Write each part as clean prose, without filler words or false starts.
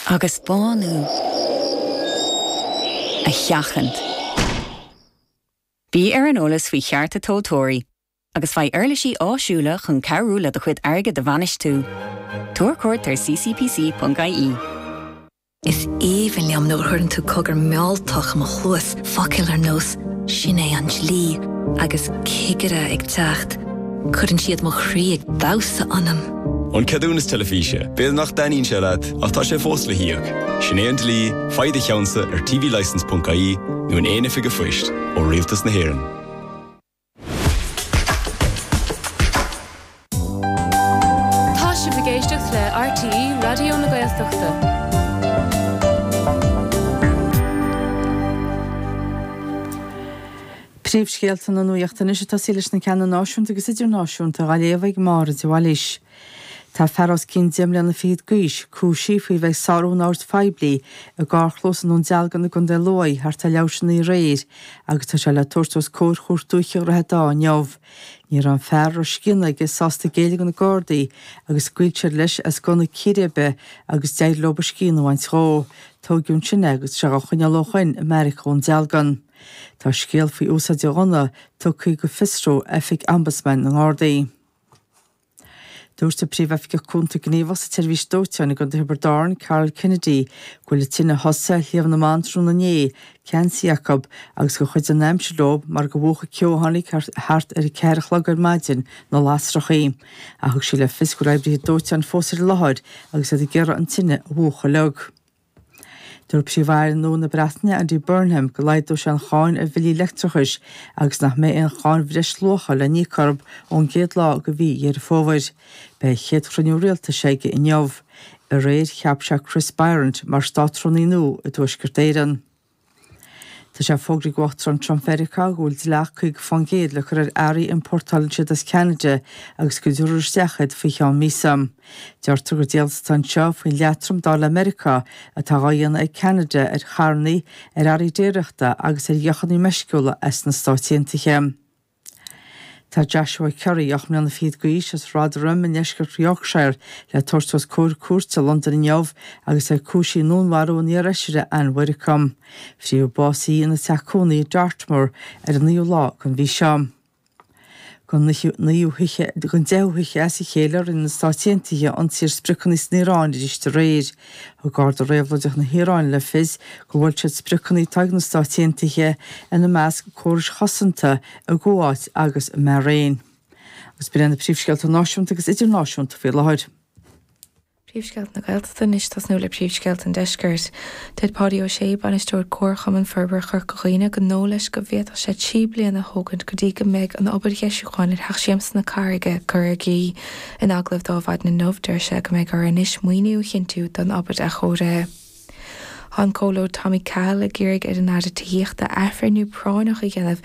Agus bánú a sheachaint. Bí ar an eolas faoi chearta tomhaltóirí agus faigh uirlisí áisiúla chun cabhrú le do chuid airgid a bhainistiú. Tabhair cuairt ar ccpc.ie. Is aoibhinn liom nuair a chuireann tú cogar mealltach i mo chluas, focail ar nós 'sin é an dlí' agus 'cigire ag teacht'. Cuireann siad mo chroí ag damhsa ionam. An ceadúnas teilifíse, b'fhéidir nach dtaitníonn sé leat, ach tá sé fós le híoc. Sin é an dlí, faigh do cheannsa ar tvlicence.ie nó in aon oifig an phoist, ó Rialtas na hÉireann. Tá sibh ag éisteacht le RTÉ Raidió na Gaeltachta. Príomhscéalta na Nuachta anois ag tosaí leis na ceanna náisiúnta agus idirnáisiúnta á léamh ag Máire de Bhailís. Tá fear os cionn deich mbliana fichead d'aois cúisithe faoi bheith ag sárú an oird phoiblí i gcarrchlós i nDún Dealgan i gContae Lú thart ar leathuair tar éis a naoi aréir agus tá sé le tabhairt os comhair Chúirt Dúiche Dhroichead Átha inniu. Ní raibh an fear a raibh scian aige sásta géilleadh do na Gardaí agus scaoil siad leis as gunna círéibe agus d'éirigh leo a scian a bhaint dhó. Tóigeadh ansin é agus tá sé dhá choinneáil ó shoin i mbeairic Dhún Dealgan. Tá scéal faoi úsáid an ghunna tugtha go Fiosrú Oifig Ombudsman na nGardaí. Dúirt an Príomhoifigeach Cúnta Gníomhach sa tSeirbhís Dóiteáin i gContae Thiobraid Árann, Carol Kennedy, go bhfuil an tine a thosaigh ar Shliabh na mBan tráthnóna inné ceansaithe acu agus gur chuidigh an aimsir leo mar gur mhúch an ceo a tháinig thart ar a 4 a chlog ar maidin na lasrachaí. Ach thug sí le fios go bhfuil oibrithe dóiteáin fós ar an láthair agus iad ag iarraidh an tine a mhúchadh uilig. Dúirt Príomh-Aire nua na Breataine, Andy Burnham, go laghdóidh sé an cháin ar bhillí leictreachais agus nach mbeidh aon cháin bhreisluacha le n-íoc orthu ón gcéad lá de mhí Dheireadh Fómhair. Beidh a chéad chruinniú rialtais aige inniu. Aréir, cheap sé Chris Bryant mar Státrúnaí nua i dTuaisceart Éireann. Tá sé fógraithe ag Uachtarán Trump Mheiriceá go bhfuil dleacht 50% le cur ar earraí a iompórtálann siad as Ceanada agus go dtabharfar isteach iad faoi cheann míosa. Deirtear gur diallas atá anseo faoin leatrom dar le Meiriceá atá dhá dhéanamh ag Ceanada ar charrannaí, ar earraí déiríochta agus ar dheochannaí meisciúla as na Stáit Aontaithe. Tá Joshua Currie, 8 mbliana fichead d'aois, as Rotherham i ndeisceart Yorkshire, le tabhairt os comhair cúirte i Londain inniu agus é cúisithe i ndúnmharú an iarfheisire Ann Widdecombe. Fuair bás í ina teach cónaí i Dartmoor ar an naoú lá den mhí seo. Don naoú hoíche, don deichiú hoíche as a chéile rinne na Stáit Aontaithe ionsaí ar spriocanna san Iaráin arís aréir. Thug Garda Réabhlóideach na hIaráine le fios gur bhuail siad spriocanna atá ag na Stáit Aontaithe, ina measc córais chosanta i gCuáit agus i mBairéin. Agus b'in iad na príomhscéalta náisiúnta agus idirnáisiúnta faoi láthair. Príomhscéalta na Gaeltachta anois tosnú le príomhscéalta an Deiscirt. Deir Páidí Ó Sé, Bainisteoir Comharchumann Forbartha Chorca Dhuibhne gur dóigh leis go bhféadfadh sé 3 bliana a thógaint go dtí go mbeidh an obair dheisiúcháin ar Theach Siamsa na Carraige curtha i gcrích. In agallamh dó ar maidin inniu, deir sé go mbeidh orthu anois maoiniú a chinntiú don obair athchóirithe. Tá an Comhairleoir Tommy Cahill ag iarraidh ar an Aire Tithíochta athbhreithniú práinneach a dhéanamh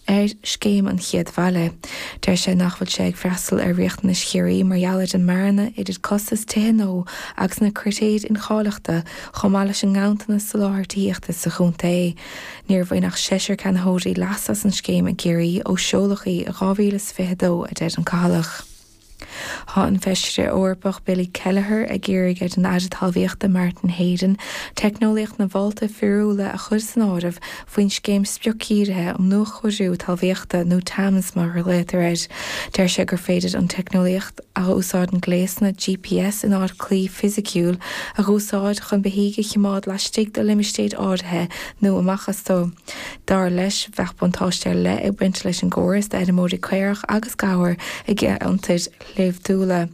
ar Scéim an Chéad Bhaile. Deir sé nach bhfuil sé ag freastal ar riachtanais Chiarraí mar gheall ar an mbearna idir costas tithe nua agus na critéir incháilitheachta chomh maith leis an nganntanas soláthair tithíochta sa chontae. Níor bhain ach seisear ceannaitheoirí leas as an scéim i gCiarraí ó seoladh í i 2022, a deir an Cathalach. Tá an Feisire Eorpach Billy Kelleher ag iarraidh ar an Aire Talmhaíochta Martin Heydon teicneolaíocht na bhfálta fíorúla a chur san áireamh faoin scéim spriocdhírithe um nuachóiriú talmhaíochta nó TAMS mar a ghlaotar air. Deir sé gur féidir an teicneolaíocht, a úsáideann gléasanna GPS in áit claí fisiciúil, a úsáid chun beithígh a choimeád laistigh de limistéir áirithe nó amach astu. Dar leis, bheadh buntáiste ar leith ag baint leis an gcóras d'fheirmeoirí caorach agus gabhar i gceantair shléibhtiúla.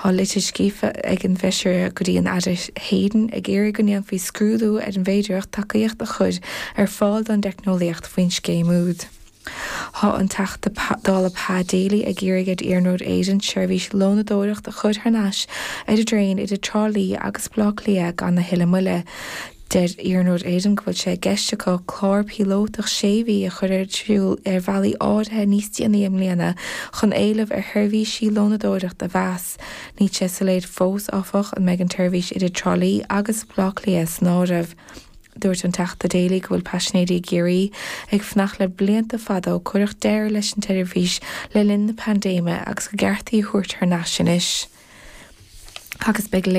Tá litir scríofa ag an bhFeisire go dtí an Aire Heydon ag iarraidh go ndéanfaí scrúdú ar an bhféidearthacht tacaíocht a chur ar fáil don dteicneolaíocht faoin scéim úd. Tá an Teachta Dála Pa Daly ag iarraidh ar Iarnród Éireann seirbhís lónadóireacht a chur thar n-ais ar an dtraein idir Trá Lí agus Baile Átha Cliath gan a thuilleadh moille. Deir Iarnród Éireann go bhfuil sé i gceist acu clár píolótach sé mhí a chur ar siúl ar bhealaí áirithe níos déanaí i mbliana chun éileamh ar sheirbhísí lónadóireachta a mheas. Níl sé soiléir fós, áfach, an mbeidh an tseirbhís idir Trá Lí agus Baile Átha Cliath san áireamh. Dúirt an Teachta Daly go bhfuil paisinéirí i gCiarraí ag fanacht le blianta fada ó cuireadh deireadh leis an tseirbhís le linn na paindéime agus gur ceart í a thabhairt thar n-ais anois. Agus beidh.